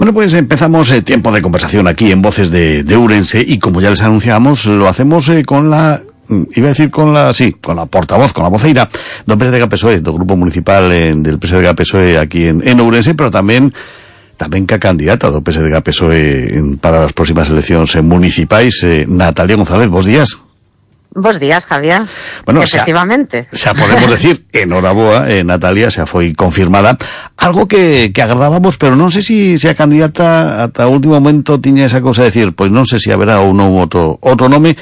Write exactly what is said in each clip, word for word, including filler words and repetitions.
Bueno, pues empezamos eh, tiempo de conversación aquí en Voces de, de Ourense, y como ya les anunciamos, lo hacemos eh, con la, iba a decir con la, sí, con la portavoz, con la voceira do P S D G P S O E, do Grupo Municipal eh, del P S D G P S O E aquí en, en Ourense, pero tamén tamén ca candidata do P S D G P S O E en, para as próximas eleccións eh, municipais, eh, Natalia González. Bos días. Bos días, Javier. Bueno, efectivamente. Xa, xa podemos decir, enhoraboa, eh, Natalia, xa foi confirmada. Algo que, que agradábamos, pero non sei se si, si a candidata ata o último momento tiña esa cousa de decir, pois non sei se si haberá ou non outro, outro nome,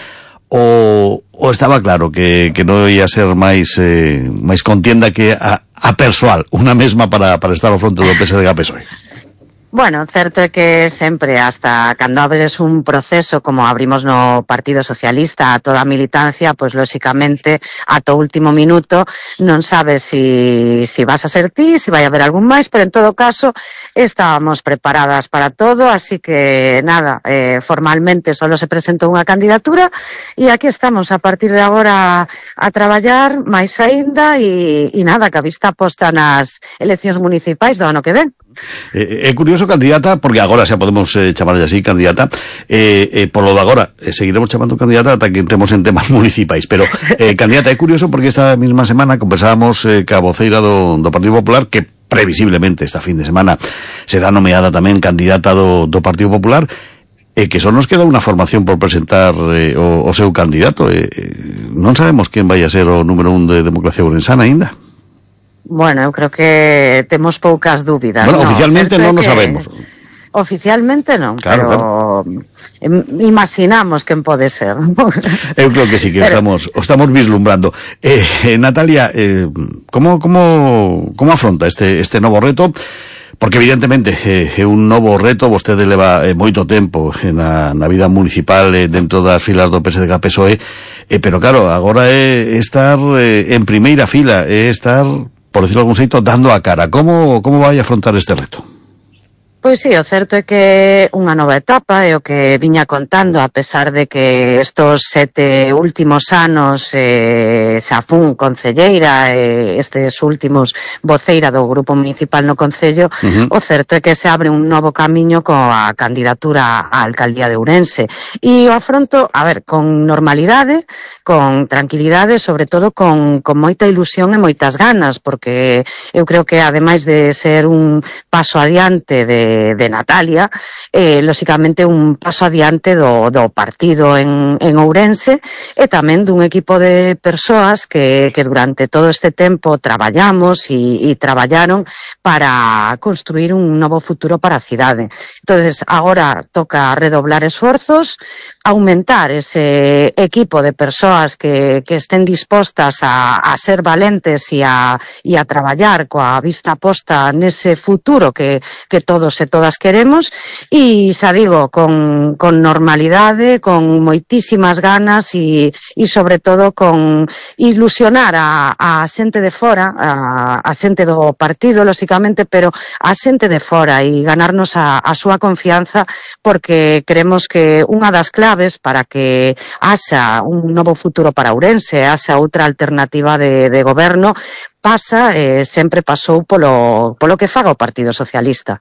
ou, ou estaba claro que, que non ia ser máis, eh, máis contienda que a, a persoal, unha mesma para, para estar ao fronte do P S D G P S O E. Bueno, certo é que sempre, hasta cando abres un proceso como abrimos no Partido Socialista a toda a militancia, pois lóxicamente ata o último minuto non sabes si, si vas a ser ti, si vai haber algún máis, pero en todo caso estábamos preparadas para todo, así que nada, eh, formalmente solo se presentou unha candidatura e aquí estamos a partir de agora a traballar máis aínda e, e nada, que a vista posta nas eleccións municipais do ano que ven. É eh, curioso, candidata, porque agora xa podemos eh, chamarlle así, candidata, eh, eh, polo de agora, eh, seguiremos chamando candidata ata que entremos en temas municipais, pero eh, candidata, é curioso porque esta mesma semana conversábamos eh, ca voceira do, do Partido Popular, que previsiblemente esta fin de semana será nomeada tamén candidata do, do Partido Popular, e eh, que só nos queda unha formación por presentar eh, o, o seu candidato. Eh, eh, non sabemos quen vai a ser o número un de Democracia Ourensana aínda. Bueno, eu creo que temos poucas dúbidas. Bueno, no, oficialmente non o que... sabemos. Oficialmente non, claro, pero claro. Imaginamos quen pode ser. Eu creo que sí, que pero... estamos o estamos vislumbrando. Eh, eh, Natalia, eh, como, como, como afronta este, este novo reto? Porque evidentemente é eh, un novo reto, vostede leva eh, moito tempo na, na vida municipal eh, dentro das filas do P S D G P S O E, eh, pero claro, agora é estar eh, en primeira fila, é estar, por decirlo algún xeito, dando a cara. Como, como vai a afrontar este reto? Pois sí, o certo é que unha nova etapa é o que viña contando, a pesar de que estos sete últimos anos eh, xa fun concelleira, eh, estes últimos voceira do Grupo Municipal no Concello, uh-huh. O certo é que se abre un novo camiño coa candidatura á Alcaldía de Ourense. E o afronto, a ver, con normalidade, con tranquilidade, sobre todo con, con moita ilusión e moitas ganas, porque eu creo que ademais de ser un paso adiante de de Natalia, eh, lóxicamente un paso adiante do, do partido en, en Ourense e tamén dun equipo de persoas que, que durante todo este tempo traballamos e, e traballaron para construir un novo futuro para a cidade. Entonces, agora toca redoblar esforzos, aumentar ese equipo de persoas que, que estén dispostas a, a ser valentes e a, e a traballar coa vista posta nese futuro que, que todos e todas queremos, e xa digo, con, con normalidade, con moitísimas ganas e, e sobre todo con ilusionar a, a xente de fora, a, a xente do partido, lóxicamente, pero a xente de fora e ganarnos a, a súa confianza, porque creemos que unha das claves para que haxa un novo futuro para Ourense, haxa outra alternativa de, de goberno, pasa, eh, sempre pasou polo, polo que faga o Partido Socialista.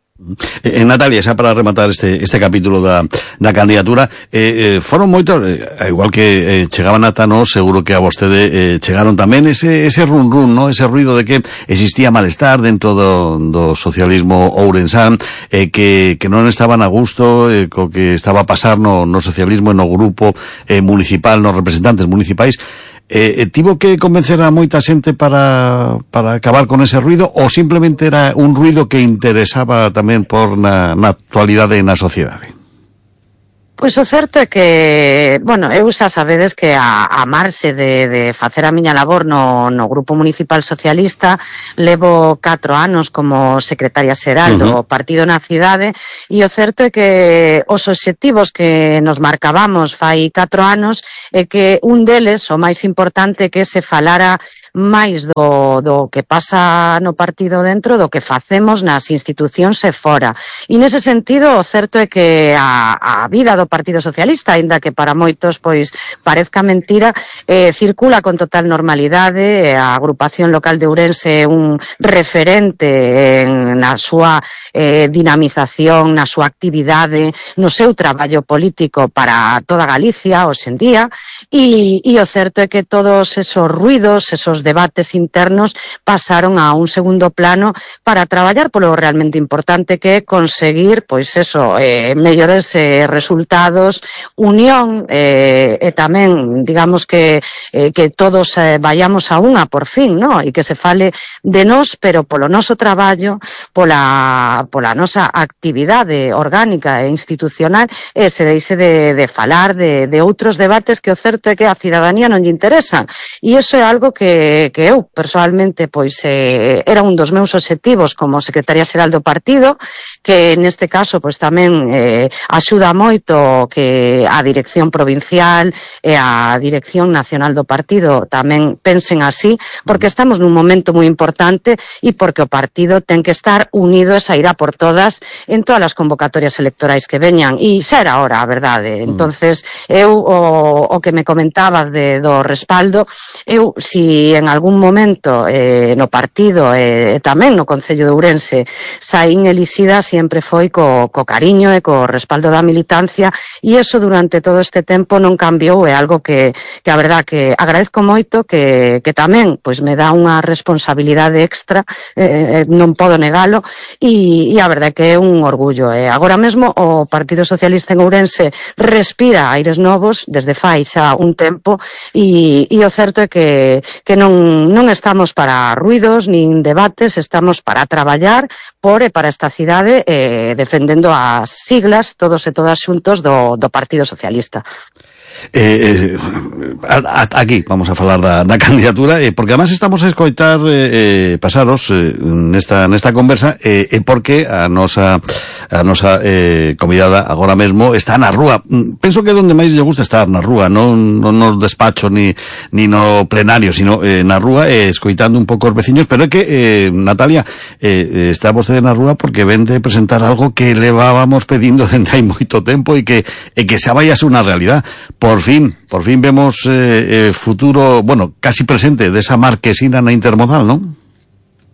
Eh, Natalia, xa para rematar este, este capítulo da, da candidatura, eh, eh, foron moitos, eh, igual que eh, chegaban ata nós, seguro que a vostede eh, chegaron tamén ese, ese run run, ¿no? Ese ruido de que existía malestar dentro do, do socialismo ourensán, eh, que, que non estaban a gusto eh, co que estaba a pasar no, no socialismo e no grupo eh, municipal, nos representantes municipais. Eh, tivo que convencer a moita xente para, para acabar con ese ruido, ou simplemente era un ruido que interesaba tamén por na, na actualidade e na sociedade? Pois o certo é que, bueno, eu xa sabedes que a, a marxe de, de facer a miña labor no, no Grupo Municipal Socialista levo catro anos como secretaria xeral do uh-huh. partido na cidade, e o certo é que os obxectivos que nos marcábamos fai catro anos é que un deles, o máis importante, que se falara máis do, do que pasa no partido dentro do que facemos nas institucións e fora. E nese sentido, o certo é que a, a vida do Partido Socialista, aínda que para moitos pois parezca mentira, eh, circula con total normalidade. A agrupación local de Ourense é un referente en, na súa eh, dinamización, na súa actividade, no seu traballo político para toda Galicia hoxe en día, e, e o certo é que todos esos ruidos, esos debates internos pasaron a un segundo plano para traballar polo realmente importante que é conseguir, pois eso, eh, mellores eh, resultados, unión eh, e tamén, digamos que eh, que todos eh, vayamos a unha por fin, ¿no? E que se fale de nós, pero polo noso traballo, pola, pola nosa actividade orgánica e institucional, e se deixe de, de falar de, de outros debates que o certo é que a cidadanía non lle interesan. E iso é algo que, que eu, personalmente, pois eh, era un dos meus obxectivos como secretaria xeral do partido, que neste caso pois tamén eh, axuda moito que a dirección provincial e a dirección nacional do partido tamén pensen así, porque estamos nun momento moi importante e porque o partido ten que estar unido e sairá por todas en todas as convocatorias electorais que veñan, e xa era hora, a verdade. Entonces, eu o, o que me comentabas de, do respaldo, eu, si en algún momento eh, no partido e eh, tamén no Concello de Ourense saín elixida, sempre foi co, co cariño e co respaldo da militancia, e eso durante todo este tempo non cambiou. É algo que, que a verdad que agradezco moito, que, que tamén pois me dá unha responsabilidade extra, eh, non podo negalo, e, e a verdad que é un orgullo. Eh. Agora mesmo o Partido Socialista en Ourense respira aires novos desde fai xa un tempo, e, e o certo é que, que non, non estamos para ruidos nin debates, estamos para traballar por e para esta cidade, eh, defendendo as siglas todos e todas xuntos do, do Partido Socialista. Eh, eh, aquí vamos a falar da, da candidatura, eh, porque además estamos a escoitar eh, eh, pasaros eh, nesta, nesta conversa, eh, eh, porque a nosa a nosa eh, convidada agora mesmo está na rúa. Penso que é onde máis lle gusta estar, na rúa, non, non nos despachos ni, ni no plenario, sino eh, na rúa, eh, escoitando un pouco os veciños. Pero é que, eh, Natalia, eh, está vostede na rúa porque ven de presentar algo que levábamos pedindo dende hai moito tempo e que, e que xa vai a ser unha realidad. Por fin, por fin vemos eh, eh, futuro, bueno, casi presente desa marquesina na Intermodal, non?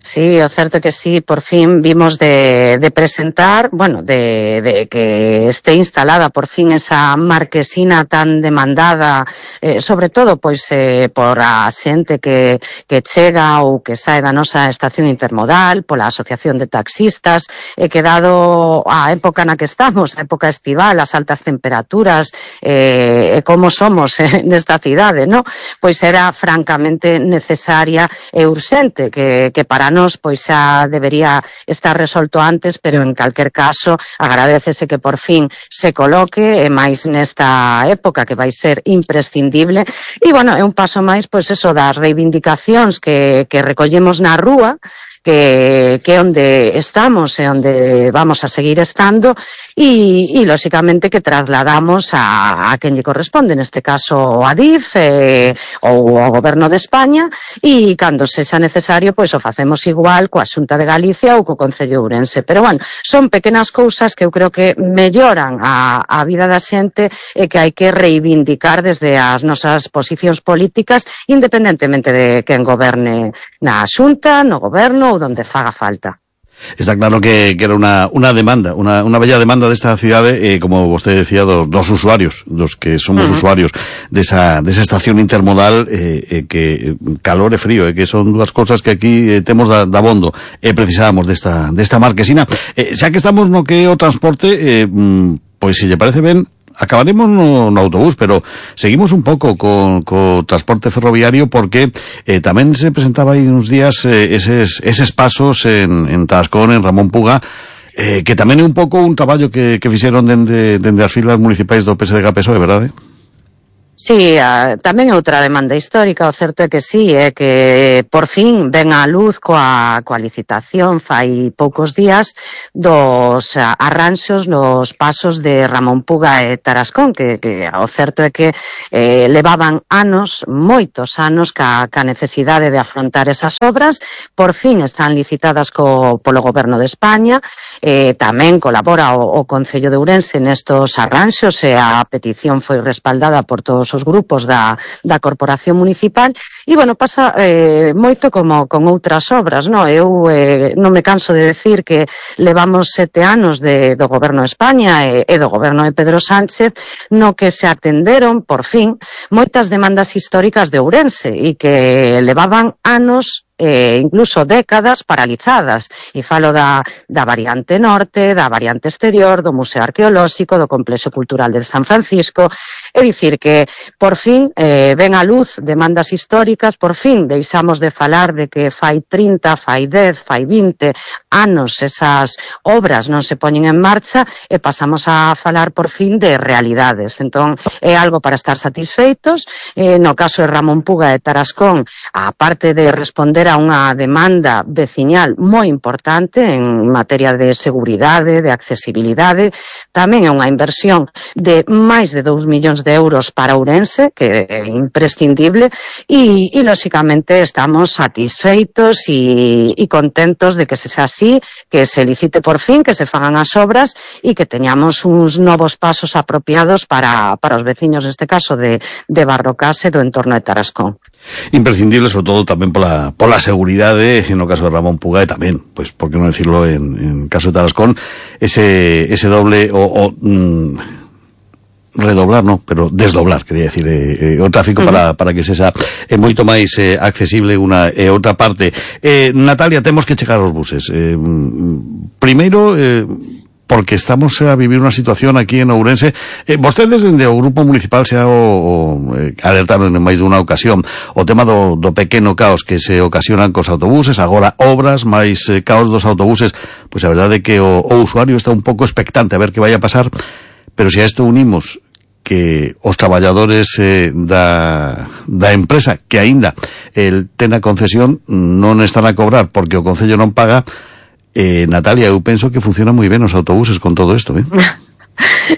Sí, o certo que sí, por fin vimos de, de presentar, bueno, de, de que esté instalada por fin esa marquesina tan demandada, eh, sobre todo, pois, eh, por a xente que, que chega ou que sae da nosa estación intermodal, pola asociación de taxistas, e que dado a época na que estamos, a época estival, as altas temperaturas, eh, e como somos eh, nesta cidade, no? Pois era francamente necesaria e urxente, que, que para nos pois xa debería estar resolto antes, pero en calquer caso agradécese que por fin se coloque, e máis nesta época que vai ser imprescindible. E bueno, é un paso máis, pois eso, das reivindicacións que, que recollemos na rúa, que, que onde estamos e onde vamos a seguir estando, e, e lóxicamente que trasladamos a, a quen lle corresponde, neste caso a D I F eh, ou ao Goberno de España, e cando sexa necesario, pois o facemos igual coa Xunta de Galicia ou co Concello de Ourense. Pero bueno, son pequenas cousas que eu creo que melloran a, a vida da xente e que hai que reivindicar desde as nosas posicións políticas, independentemente de quen goberne na Xunta, no Goberno ou donde faga falta. Está claro que, que era una, una demanda, una, una bella demanda desta cidade, eh, como vostede decía, dos, dos usuarios, dos que somos uh-huh. usuarios desa, desa estación intermodal, eh, eh, que calor e frío, eh, que son dúas cosas que aquí eh, temos da, da bondo, e eh, precisábamos desta, desta marquesina. Eh, xa que estamos no que é o transporte, eh, pois se lle parece ben, acabaremos no, no autobús, pero seguimos un pouco co, co transporte ferroviario, porque eh, tamén se presentaba aí uns días eh, eses, eses pasos en, en Tascón, en Ramón Puga, eh, que tamén é un pouco un traballo que, que fixeron dende, dende as filas municipais do P S D G P S O E, verdade? Sí, a, tamén outra demanda histórica, o certo é que sí, é que por fin ven á luz coa, coa licitación fai poucos días dos a, arranxos nos pasos de Ramón Puga e Tarascón, que, que o certo é que eh, levaban anos, moitos anos, ca, ca necesidade de afrontar esas obras, por fin están licitadas co, polo Goberno de España, eh, tamén colabora o, o Concello de Ourense nestos arranxos e a petición foi respaldada por todos os grupos da, da Corporación Municipal e, bueno, pasa eh, moito como con outras obras, no? Eu eh, non me canso de decir que levamos sete anos de, do Goberno de España e, e do Goberno de Pedro Sánchez no que se atenderon, por fin, moitas demandas históricas de Ourense e que levaban anos eh, incluso décadas paralizadas, e falo da, da variante norte, da variante exterior, do Museo Arqueolóxico, do Complexo Cultural de San Francisco, é dicir que por fin eh, ven a luz demandas históricas, por fin deixamos de falar de que fai trinta, fai dez, fai vinte anos esas obras non se poñen en marcha e pasamos a falar por fin de realidades. Entón é algo para estar satisfeitos. Eh, no caso de Ramón Puga e Tarascón, a parte de responder a unha demanda veciñal moi importante en materia de seguridade, de accesibilidade, tamén é unha inversión de máis de dous millóns de euros para Ourense, que é imprescindible, e, e lóxicamente estamos satisfeitos e, e contentos de que se xa así, que se licite por fin, que se fagan as obras e que teñamos uns novos pasos apropiados para, para os veciños, neste caso, de, de Barrocas e do entorno de Tarascón. Imprescindible, sobre todo tamén pola, pola seguridade, no caso de Ramón Puga, e tamén, pois, por que non decirlo, en, en caso de Tarascón, ese, ese doble o, o mm, redoblar, no, pero desdoblar, quería decir, eh, eh, o tráfico uh-huh. para, para que sexa eh, moito máis eh, accesible unha e eh, outra parte. Eh, Natalia, temos que chegar aos buses. Eh, primeiro, eh, porque estamos a vivir unha situación aquí en Ourense. Eh, vostedes, dende o Grupo Municipal, xa o, o eh, alertaron en máis dunha ocasión o tema do, do pequeno caos que se ocasionan cos autobuses, agora obras, máis eh, caos dos autobuses. Pois a verdade é que o, o usuario está un pouco expectante a ver que vai a pasar, pero se a isto unimos que os traballadores eh, da, da empresa que aínda el ten a concesión non están a cobrar porque o Concello non paga. Eh, Natalia, eu penso que funciona moi ben os autobuses con todo isto, eh?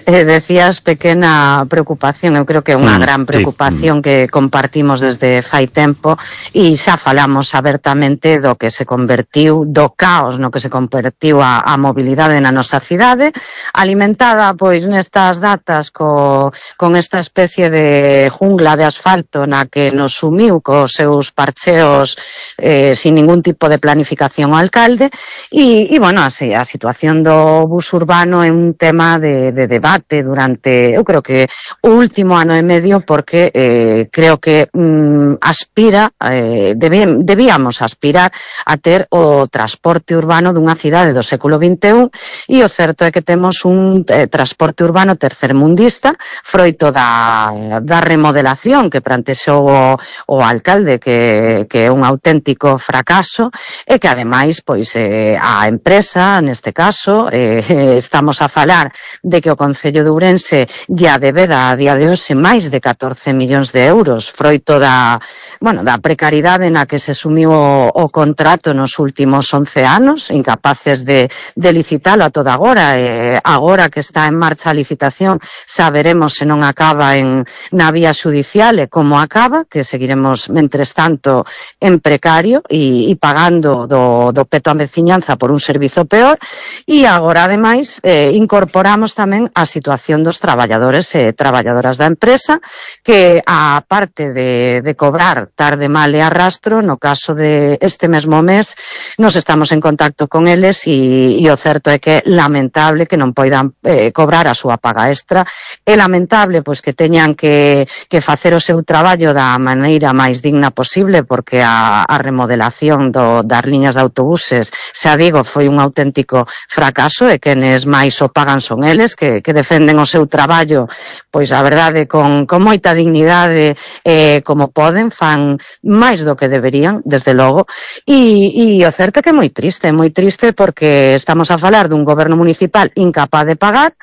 Eh, decías pequena preocupación, eu creo que é unha mm, gran preocupación sí. que compartimos desde fai tempo e xa falamos abertamente do que se convertiu, do caos no que se convertiu a, a mobilidade na nosa cidade, alimentada pois nestas datas co, con esta especie de jungla de asfalto na que nos sumiu cos seus parcheos eh, sin ningún tipo de planificación o alcalde e, e bueno, así, a situación do bus urbano é un tema de de debate durante, eu creo que o último ano e medio, porque eh, creo que mm, aspira, eh, debí, debíamos aspirar a ter o transporte urbano dunha cidade do século vinte e un e o certo é que temos un eh, transporte urbano tercermundista, froito da, da remodelación que plantexou o, o alcalde, que, que é un auténtico fracaso e que ademais, pois, eh, a empresa, neste caso, eh, estamos a falar de que o Concello de Ourense ya debeda a día de hoxe máis de catorce millóns de euros, froito da, bueno, da precariedade na que se sumiu o, o contrato nos últimos once anos, incapaces de, de licitalo a toda agora, e agora que está en marcha a licitación saberemos se non acaba en, na vía xudicial e como acaba, que seguiremos, mentres tanto, en precario e, e pagando do, do peto a veciñanza por un servizo peor, e agora, ademais, eh, incorporamos tamén a situación dos traballadores e traballadoras da empresa, que a parte de, de cobrar tarde, mal e arrastro, no caso de este mesmo mes, nos estamos en contacto con eles e, e o certo é que é lamentable que non poidan eh, cobrar a súa paga extra, é lamentable pois que teñan que, que facer o seu traballo da maneira máis digna posible, porque a, a remodelación do, das liñas de autobuses, xa digo, foi un auténtico fracaso e quenes máis o pagan son eles, que, que defenden o seu traballo, pois a verdade, con, con moita dignidade, eh, como poden, fan máis do que deberían, desde logo, e, e o certo é que é moi triste, moi triste porque estamos a falar dun goberno municipal incapaz de pagar,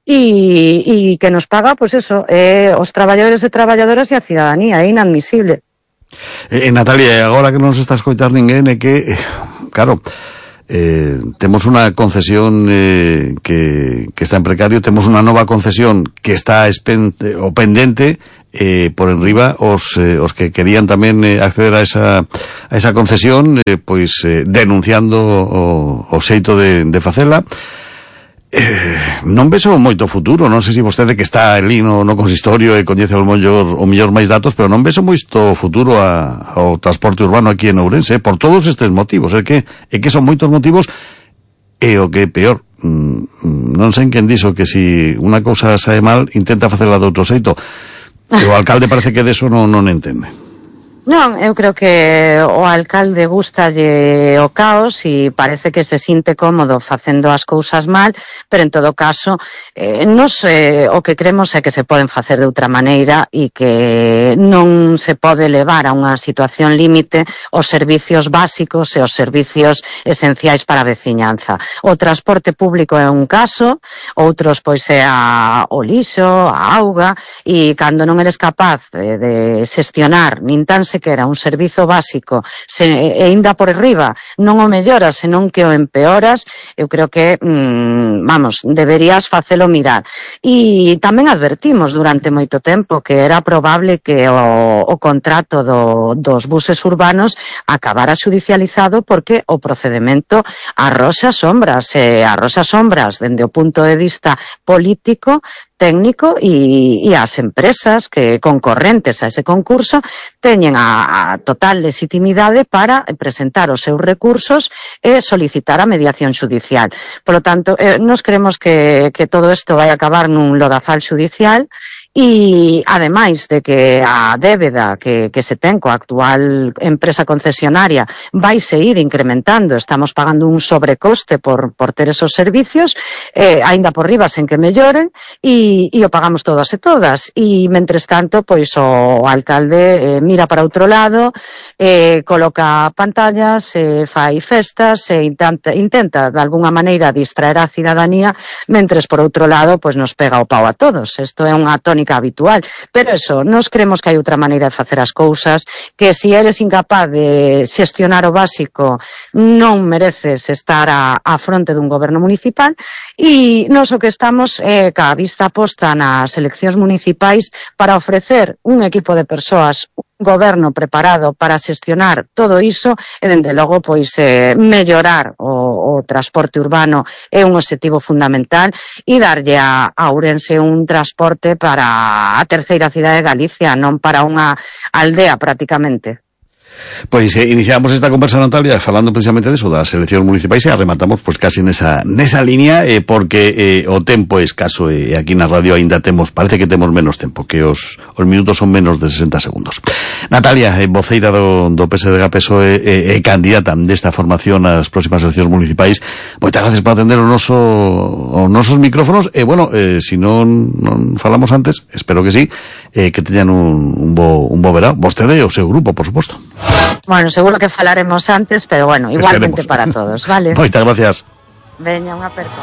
e, e que nos paga, pois pues eso, eh, os traballadores e traballadoras e a cidadanía, é inadmisible. Eh, Natalia, agora que non se está a escoitar ninguén, é que, eh, claro, eh, temos unha concesión eh, que, que está en precario, temos unha nova concesión que está espente, o pendente, eh, por enriba os, eh, os que querían tamén eh, acceder a esa, a esa concesión, eh, pois eh, denunciando o, o xeito de, de facela. Eh, non vexo moito futuro, non sei se vostede que está ali no, no consistorio e coñece o mellor, o mellor máis datos, pero non vexo moito futuro a, ao transporte urbano aquí en Ourense, eh, por todos estes motivos, é que, é que son moitos motivos, e o que é peor, mm, non sei quen dixo que si unha cousa sae mal, intenta facela de outro xeito, e o alcalde parece que deso non, non entende. Non, eu creo que o alcalde gustalle o caos e parece que se sinte cómodo facendo as cousas mal, pero en todo caso, eh, nos, eh, o que cremos é que se poden facer de outra maneira e que non se pode levar a unha situación límite os servicios básicos e os servicios esenciais para a veciñanza. O transporte público é un caso, outros pois é a, o lixo, a auga, e cando non eres capaz de, de xestionar nin tan se que era un servizo básico se, e ainda por riba non o melloras, senón que o empeoras, eu creo que mmm, vamos, deberías facelo mirar. E tamén advertimos durante moito tempo que era probable que o, o contrato do, dos buses urbanos acabara xudicializado porque o procedemento arroxa sombras, e arroxa sombras dende o punto de vista político, técnico e, e as empresas que concorrentes a ese concurso teñen a, a total legitimidade para presentar os seus recursos e solicitar a mediación xudicial. Por lo tanto, eh, nos creemos que, que todo isto vai acabar nun lodazal xudicial. E, ademais de que a débeda que, que se ten coa actual empresa concesionaria vai seguir incrementando, estamos pagando un sobrecoste por, por ter esos servicios, eh, aínda por riba sen que melloren, e, e o pagamos todas e todas. E, mentres tanto, pois o alcalde eh, mira para outro lado, eh, coloca pantallas, eh, fai festas, e intenta, intenta de alguna maneira distraer a cidadanía, mentres por outro lado, pois nos pega o pau a todos. Isto é unha tónica habitual, pero eso, nos creemos que hai outra maneira de facer as cousas, que se eres incapaz de xestionar o básico non mereces estar a, a fronte dun goberno municipal, e nos o que estamos é eh, ca vista posta nas eleccións municipais para ofrecer un equipo de persoas, un goberno preparado para xestionar todo iso e, dende logo, pois eh, mellorar o, o transporte urbano é un obxectivo fundamental, e darlle a, a Ourense un transporte para a terceira cidade de Galicia, non para unha aldea prácticamente. Pois eh, iniciamos esta conversa, Natalia, falando precisamente deso, das eleccións municipais, e arrematamos pois casi nesa, nesa línea, eh, porque eh, o tempo é escaso, e eh, aquí na radio aínda temos, parece que temos menos tempo, que os, os minutos son menos de sesenta segundos. Natalia, eh, voceira do, do P S D G P S O E e eh, eh, candidata desta formación ás próximas eleccións municipais, moitas gracias por atender o noso, os nosos micrófonos, e bueno, eh, se si non, non falamos antes, espero que sí, eh, que teñan un, un, bo, un bo verao, vostede e o seu grupo, por suposto. Bueno, seguro que falaremos antes, pero bueno, igualmente. Esperemos. Para todos, vale? Moitas gracias. Veña, unha aperta.